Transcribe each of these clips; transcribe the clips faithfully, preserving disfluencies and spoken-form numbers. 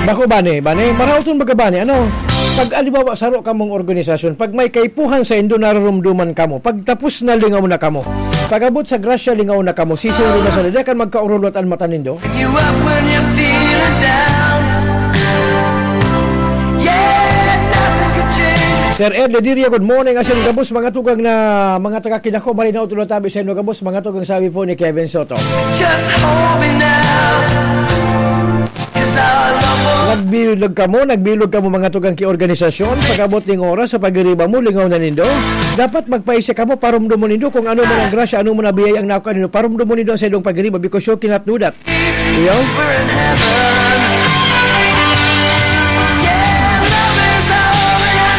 Bako, bani, bani, maraot man baga, bani, ano? Pag, halimbawa, saro kamong organisasyon, pag may kaipuhan saindo, nararumduman kamo. Pag tapos na, lingaw na kamo. Pag-abot sa grasya, lingaw na kamo. Sisiro na sa dede, kan magkaurulot an mata nindo. You up when you're feeling down. Yeah, nothing could change. Sir Ed Lediria, good morning. Asin gabos, mga tugang na, mga taga Kinaco, marinaw tulo tabi sa inyo gabos, mga tugang, sabi po ni Kevin Soto. Just hold me now. Nagbilog kamo, nagbilog kamo, mga tugang ki organisasyon. Pag-abot ning oras sa pagiriba mo, lingaw na nindo. Dapat magpaisi kamo, parumdumon nindo kung ano man ang grasya, ano man ang biyaya ang nakuha nindo. Parumdumon nindo ang saindong pagiriba because you cannot do that. Iyo?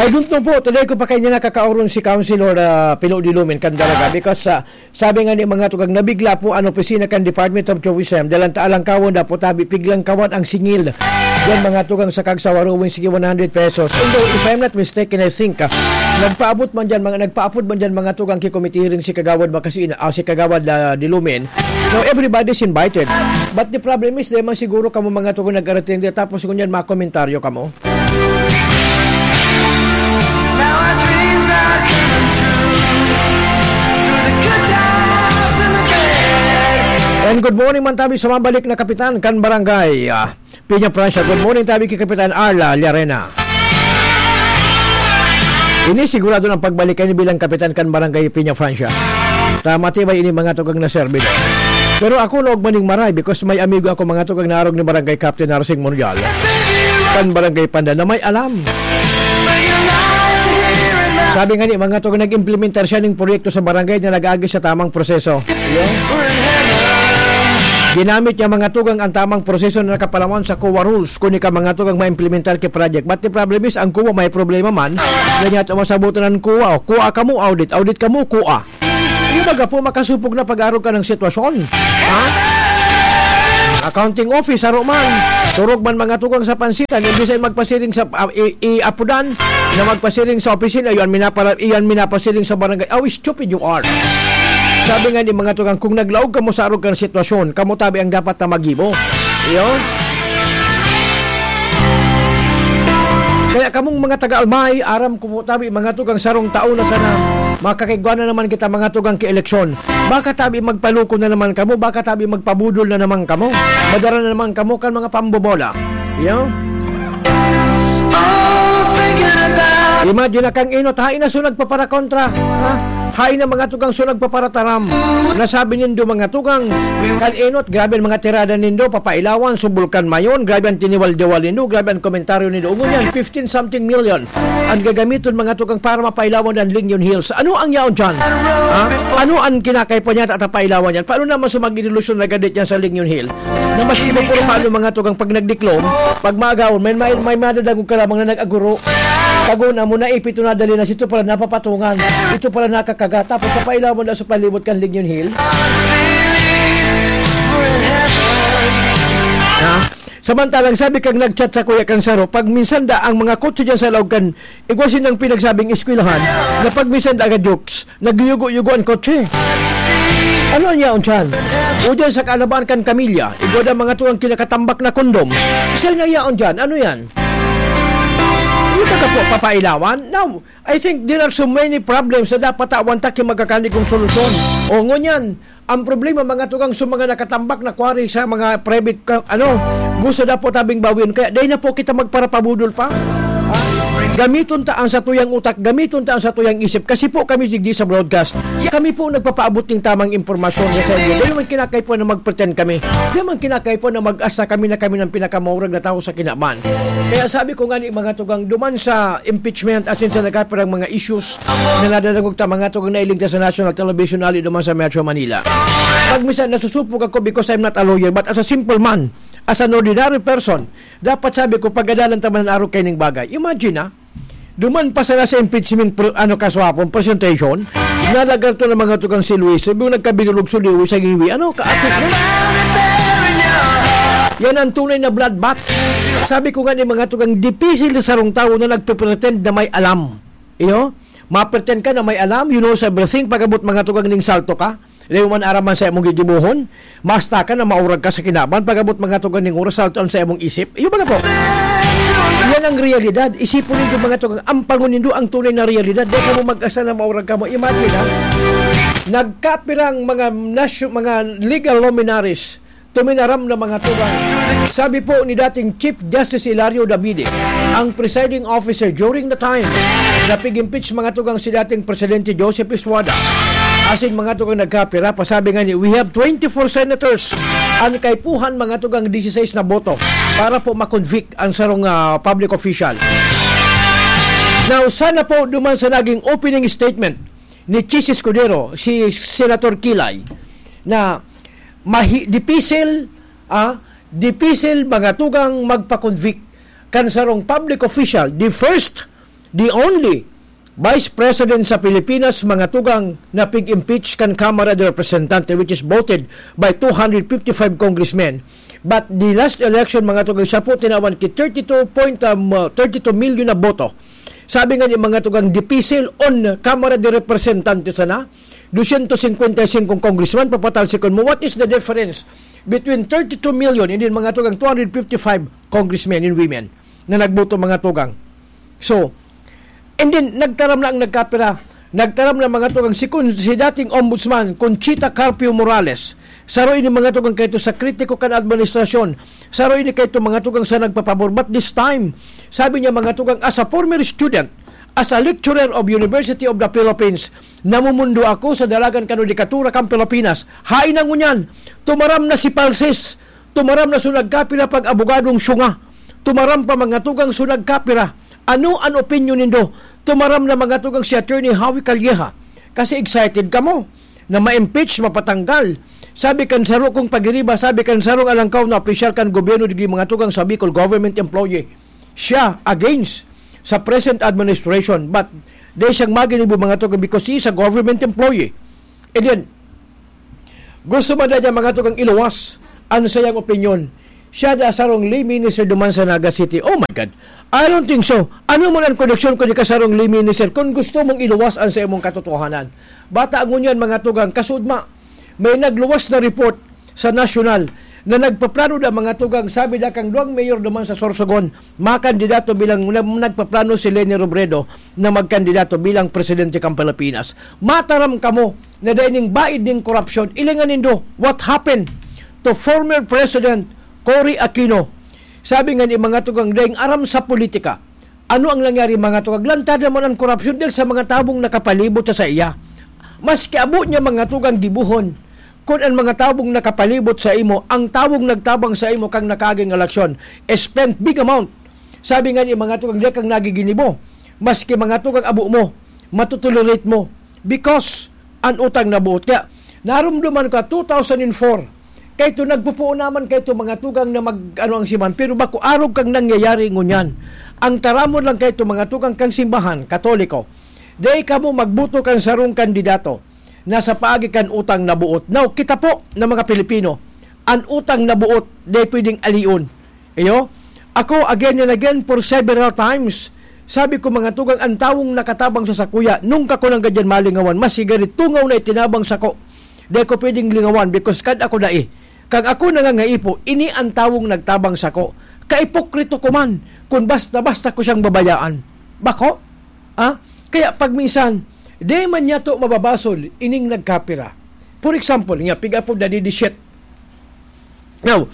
I don't know po, today ko pa kayo nakakauron si Councilor, ah, Pilo Dilumin, Candaraga, because, ah, sabi nga ni mga tugang, nabigla po ang opisina kan Department of Tourism. Dalan ta alangkawon, dapat tabi, piglangkawan ang singil. Yan, mga tugang, sa Kagsawa Rowing, sige, one hundred pesos. Although, if I'm not mistaken, I think, ah, nagpaabot man dyan, mga, nagpaapod man dyan, mga tugang, ki Committee Hearing si Kagawad Makasina, ah, si Kagawad, ah, Dilumin. So, everybody's invited. But the problem is, di man siguro kamo, mga tugang, nag-attend, tapos ngunyan, mga komentaryo kamo. Now our dreams are coming true. Through the good times and the bad. And good morning man tabi sa mabalik na kapitan kan barangay, ah, Piña Francia. Good morning tabi kay Kapitan Arla Llarena. Ini sigurado ng pagbalik kayo bilang kapitan kan barangay Piña Francia. Ta matibay ini, mga tugang, na servidor. Pero ako, laog maning maray because may amigo ako, mga tugang, na arog ni Barangay Captain Narsing Monreal, kan Barangay Panda, na may alam. Sabi nga ni, mga tugang, nag-implementar siya ning proyekto sa barangay na nag-agi sa tamang proseso. Ginamit niya, mga tugang, ang tamang proseso na nakapalaman sa COA rules. Kung ika, mga tugang, ma-implementar ki project. But the problem is, ang COA may problema man. Ganyan, masabutan ng COA. O, COA kamo, audit. Audit kamo, COA. Yung baga po, makasupog na pag-arog ka ng sitwasyon. Ha? Accounting office, saro man. Turog man, mga tugang, sa pansitan. Imbis ay magpasiring sa, ah, i-, i-apudan na magpasiring sa opisina, iyan minapara-, iyan minapasiring sa barangay. How stupid you are. Sabi nga ni mga tugang, kung naglaog kamo sa arog ka ng sitwasyon, kamo tabi ang dapat na magibo. Iyo? Kaya kamong mga taga-Almay, aram ko po tabi, mga tugang, sarong taon na sana, makakaigwa na naman kita, mga tugang, ki eleksyon. Baka tabi magpaloko na naman kamo, baka tabi magpabudol na naman kamo. Madara na naman kamo kan mga pambobola. Iyo? Imagine na kang enot, hain na so nagpaparakontra, ha? Hain na, mga tugang, so nagpaparataram. Nasabi nindo, mga tugang, kan enot, grabe ang mga tirada nindo, papailawan, subol kan mayon, grabe ang tiniwal-diwal nindo, grabe ang komentaryo nindo. Ngunyan, fifteen something million ang gagamiton, mga tugang, para mapailawan ang Lingyon Hills. Ano ang yaon dyan? Ha? Ano ang kinakaipuhan niya at pailawan yan? Paano naman sa mag-inilusyon na gadit yan sa Lingyon Hill? Na mas iba puro paano, mga tugang, pag nagdiklom, pag maagawon, may, may, may madadangog ka lamang na nag-aguro. Tago na mo, naipit na dali na, sito pala napapatungan. Ito pala nakakaga. Tapos sa pailawan na sa palibot kan Lingyon Hill. Ha? Samantalang sabi kang nag-chat sa kuya kang saro, pag minsan da ang mga kotse dyan sa laog kan, igwa sinang pinagsabing eskwelahan, na pag minsan da ka jokes, nagyugo-yugo ang kotse. Ano niya, unsan? O dyan sa kaalabahan kan kamilya, igwa da mga tuwang kinakatambak na kondom. Isa na yaon dyan. Ano yan? Hindi ka po papailawan? Now, I think there are so many problems na dapat tawan ta ki magkakanig kong solusyon. O, ngunyan, ang problema, mga tugang, sa mga nakatambak na kwari sa mga private, ka-, ano, gusto na po tabing bawion. Kaya, dahil na po kita magparapabudol pa. Ha? Gamiton ta ang satuyang utak, gamiton ta ang satuyang isip. Kasi po kami digdi sa broadcast. Kami po nagpapaabot ng tamang impormasyon sa inyo. Dahil naman kinakaipuhan na mag-pretend kami. Dahil naman kinakaipuhan na mag-asa kami na kami ng pinakamaurag na tao sa kinaban. Kaya sabi ko nga ni mga tugang, duman sa impeachment at sa nagkapirang mga issues na nadadangog ta, mga tugang, nailigtas sa national television, ali duman sa Metro Manila. Pag minsan nasusupog ako because I'm not a lawyer, but as a simple man, as an ordinary person, dapat sabi ko, pagadalan ta man ang arog kaining bagay. Imagine, ah, duman pa sana sa impeachment pro-, ano, kaswapon, presentation, nalagar to ng mga tugang si Luis, sabi mo, nagkabinulog si Luis sa iwi. Ano, kaatik na? Yan ang tunay na bloodbath. Sabi ko nga ni mga tugang, dipisil sa sarong tawo na nagpe-pretend na may alam. Iyo? Ma-pretend ka na may alam, you knows everything, pag-abot mga tugang ning salto ka. Dai mo man aram an saimong gigibohon. Basta ka na maurag ka sa kinaban, pag-abot mga tugang ning oras, salto an saimong isip. Iyo baga po. Yan ang realidad. Isipon nindo mga tugang, ampangon nindo ang tunay na realidad. Dai kamo mag-asa na maurag kamo. Imagine, ha? Nagkapirang mga nasyo-, mga legal luminaries, tuminaram na mga tugang. Sabi po ni dating Chief Justice Hilario Davide, ang presiding officer during the time na pig-impeach mga tugang si dating Presidente Joseph Estrada, asin mga tugang nagkapira, pasabi nga ni, "We have twenty-four senators." An kaipuhan, mga tugang, dieciséis na boto para po ma-convict ang sarong, ah, public official. Now, sana po duman sa naging opening statement ni Chiz Escudero, si Senator Kilay, na mahi-, dipisil, ah, dipisil, mga tugang, magpa-convict kan sarong public official, the first, the only Vice President sa Pilipinas, mga tugang, na pig-impeach kan Kamara de Representante, which is voted by two hundred fifty-five congressmen. But the last election, mga tugang, siya po tinawan ki thirty-two point, um, uh, thirty-two million na boto. Sabi nga ni mga tugang, dipisil on Kamara de Representante sana, dosyentos singkwenta y singko congressman, papatalsikon mo. What is the difference between thirty-two million and then mga tugang two hundred fifty-five congressmen and women na nagboto, mga tugang? So, and then, nagtaram na ang nagkapira, nagtaram na mga tugang si, Con-, si dating Ombudsman, Conchita Carpio Morales. Saro ini mga tugang kaito sa kritiko kan administrasyon. Saro ini kaito mga tugang sa nagpapabor. But this time, sabi niya mga tugang, as a former student, as a lecturer of University of the Philippines, namumundo ako sa dalagan kan hudikatura kan Pilipinas. Hain na ngunyan, tumaram na si Palsis, tumaram na so nagkapira pag-abogadong syunga. Tumaram pa mga tugang so nagkapira. Ano an opinyon nindo? Tumaram na mga tugang si Attorney Howie Calleja. Kasi excited kamo na ma-impeach, mapatanggal. Sabi kan saro kong pagiriba, sabi kan sarong alangkaw na opisyal kan gobyerno, digdi mga tugang sa Bicol, government employee. Siya against sa present administration, but dai siyang maginibo mga tugang because he is a government employee. And then, gusto man na niya mga tugang iluwas an sayang opinyon. Siya da sarong lay minister duman sa Naga City. Oh my God. I don't think so. Ano man ang koneksyon ko di ka sarong lay minister kung gusto mong iluwas an sa imong katotohanan? Bata ngunyan, mga tugang, kasudma, may nagluwas na report sa nasyonal na nagpaplano da mga tugang, sabi da kang duwang mayor duman sa Sorsogon, makandidato bilang na-, nagpaplano si Leni Robredo na magkandidato bilang presidente kan Pilipinas. Mataram kamo na dai ning baid ning korupsyon. Ilingan nindo, what happened to former President Cory Aquino? Sabi nga ni mga tugang, daing aram sa politika. Ano ang nangyari, mga tugang? Lantad naman ang korupsyon dahil sa mga tabong nakapalibot sa saiya. Maski abo niya mga tugang gibuhon, kun ang mga tabong nakapalibot sa imo, ang tabong nagtabang sa imo kang nakaging eleksyon, spent big amount. Sabi nga ni mga tugang, di kang nagiginibo. Maski mga tugang abo mo, matutolerate mo. Because an utang na buot. Kaya, narumduman ko, two thousand four, kaito nagpupuon naman kaito mga tugang na mag, ano ang siman. Pero bako arog kang nangyayari ngunyan. Ang taramon lang kaito mga tugang kang simbahan, Katoliko. Dai kamo magboto kan sarong kandidato na sa paagi kan utang na buot. Now, kita po na mga Pilipino, an utang na buot dai pwedeng alion. Iyo, ako, again and again, for several times, sabi ko, mga tugang, ang tawong nakatabang sa sakuya, nung ka ko nang gadyan malingawan, mas higari tungaw na itinabang sako. Dai ko pwedeng lingawan because kad ako dai. Kag ako nangangaipo, ini ang tawong nagtabang sako. Kaipokrito ko man, kung basta-basta ko siyang babayaan. Bako? Ah? Kaya pag minsan, di man niya to mababasol, ining nagkapira. For example, nga, piga po, dadi di shit. Now,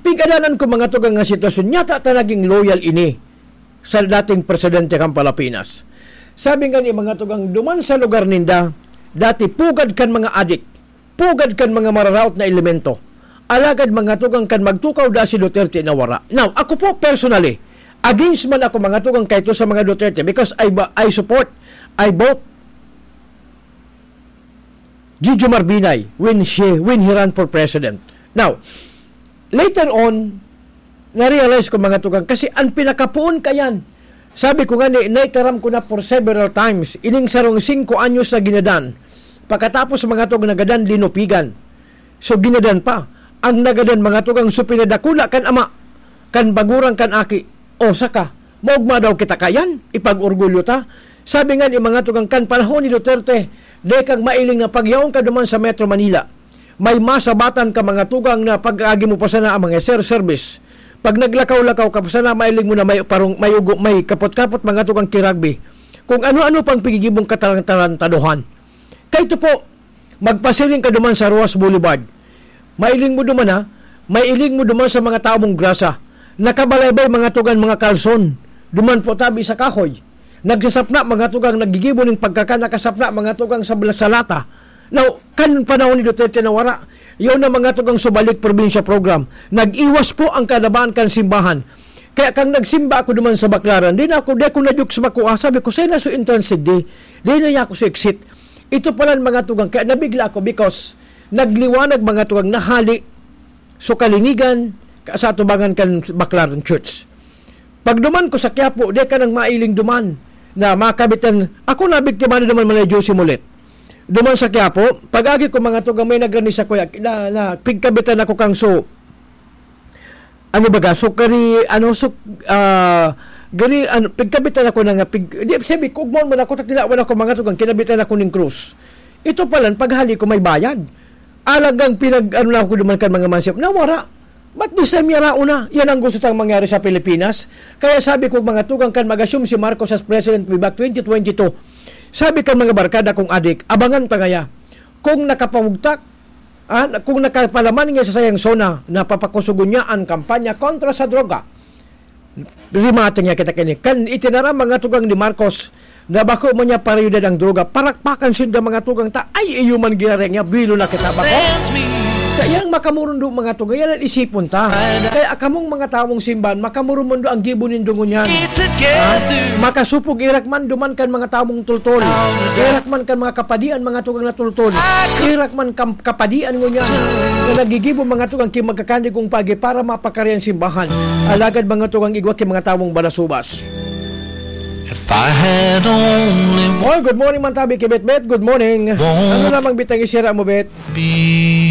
pigadanan ko mga tugang nga sitwasyon, nyata ta naging loyal ini sa dating presidente kan Pilipinas. Sabi nga ni mga tugang, duman sa lugar ninda, dati pugad kan mga adik, pugad kan mga mararaot na elemento. Alagad mga tugang kan magtukaw da si Duterte na wara. Now, ako po personally, against man ako mga tugang kaito sa mga Duterte because I, ba- I support, I vote Gigi Marbinay when she, when he ran for president. Now, later on, na-realize ko mga tugang, kasi ang pinakapoon kayan, sabi ko nga ni, naitaram ko na for several times, ining sarong singko anyos na ginadan, pagkatapos mga tugang nagadan, linupigan. So, ginadan pa. Ang nagadan mga tugang, so pinadakula kan ama, kan bagurang kan aki, o saka, maugma daw kita kayan, ipag-orgulyo ta. Sabi nga ni mga tugang kan panahon ni Duterte, Dai kang mailing na pagyaon ka duman sa Metro Manila. May masabatan ka mga tugang na pag-agi mo pa sana ang mga ser-, service. Pag naglakaw-lakaw ka pa sana, mailing mo na may parong, may ugo, may kapot-kapot mga tugang kiragbi. Kung ano-ano pang pigigibong katarantarantaduhan. Kaito po, magpasiring ka duman sa Roxas Boulevard. Mailing mo duman, ha? Mailing mo duman sa mga tawo mong grasa. Nakabalaybay mga tugang mga kalson. Duman po tabi sa kahoy. Nagsasapna mga tugang naggigibo ning pagkakan, nakasapna mga tugang sa, sa lata. Now, kan panahon ni Duterte nawara, yun na mga tugang subalik probinsya program. Nag-iwas po ang kalaban kan simbahan. Kaya kang nagsimba ako duman sa Baclaran, di na ako, di ako na-joke sa makuha. Sabi ko, "Saan na so entrance di? Di na niya ako sa exit." Ito pala ang mga tugang. Kaya nabigla ako because nagliwanag mga tugang, nahali so kalinigan ka-, sa atubangan kan Baclaran Church. Pag duman ko sa Quiapo, di ka nang mailing duman na makabitan. Ako nabiktima na naman man ni Josie Molet. Duman sa Quiapo, pag-agi ko mga tugang, may nagrani sa kuya, na, na, pigkabitan ako kang so, ano baga, so kari, ano, so, ah, gani, ano, pigkabitan ako na nga, pig, di, sabi ko, "Ugmon mo na ako, tatinawan ako mga tugang, kinabitan ako ning krus." Ito palan, paghali ko may bayad. Alagang pinag, ano na ako duman kan mga mansip, nawara. Ba't di sa miyarao na? Yan ang gusto tang mangyari sa Pilipinas. Kaya sabi ko, mga tugang, kan mag-assume si Marcos as president way back twenty twenty-two, sabi kan mga barkada kong adik, abangan ta ngaya. Kung nakapamugtak, ah, kung nakapalaman niya sa sayang zona, napapakusugon niya ang kampanya kontra sa droga. Rimate niya kita kini. Kan itinaram mga tugang ni Marcos, na bako man niya parayudan ang droga, parakpakan sinda mga tugang ta, ay, iyo man ginareng niya, bilo na kita bako. Kaya ang makamurundo mga tugang, yan ang isipon ta. Kaya akamong mga tawong simbahan, makamurumondo ang gibo nindo ngunyan. Ha? Makasupog irak man duman kan mga tawong tultol. Irak man kan mga kapadian, mga tugang na tultol. Irak man kam-, kapadian ngunyan. Na nagigibo mga tugang ki magkakanigong pagi para mapakari ang simbahan. Alagad mga tugang igwa ki mga tawong balasubas. If I had only Oy, good morning man tabi ki Betbet. Good morning. Ano namang bitang isira mo, Bet? Be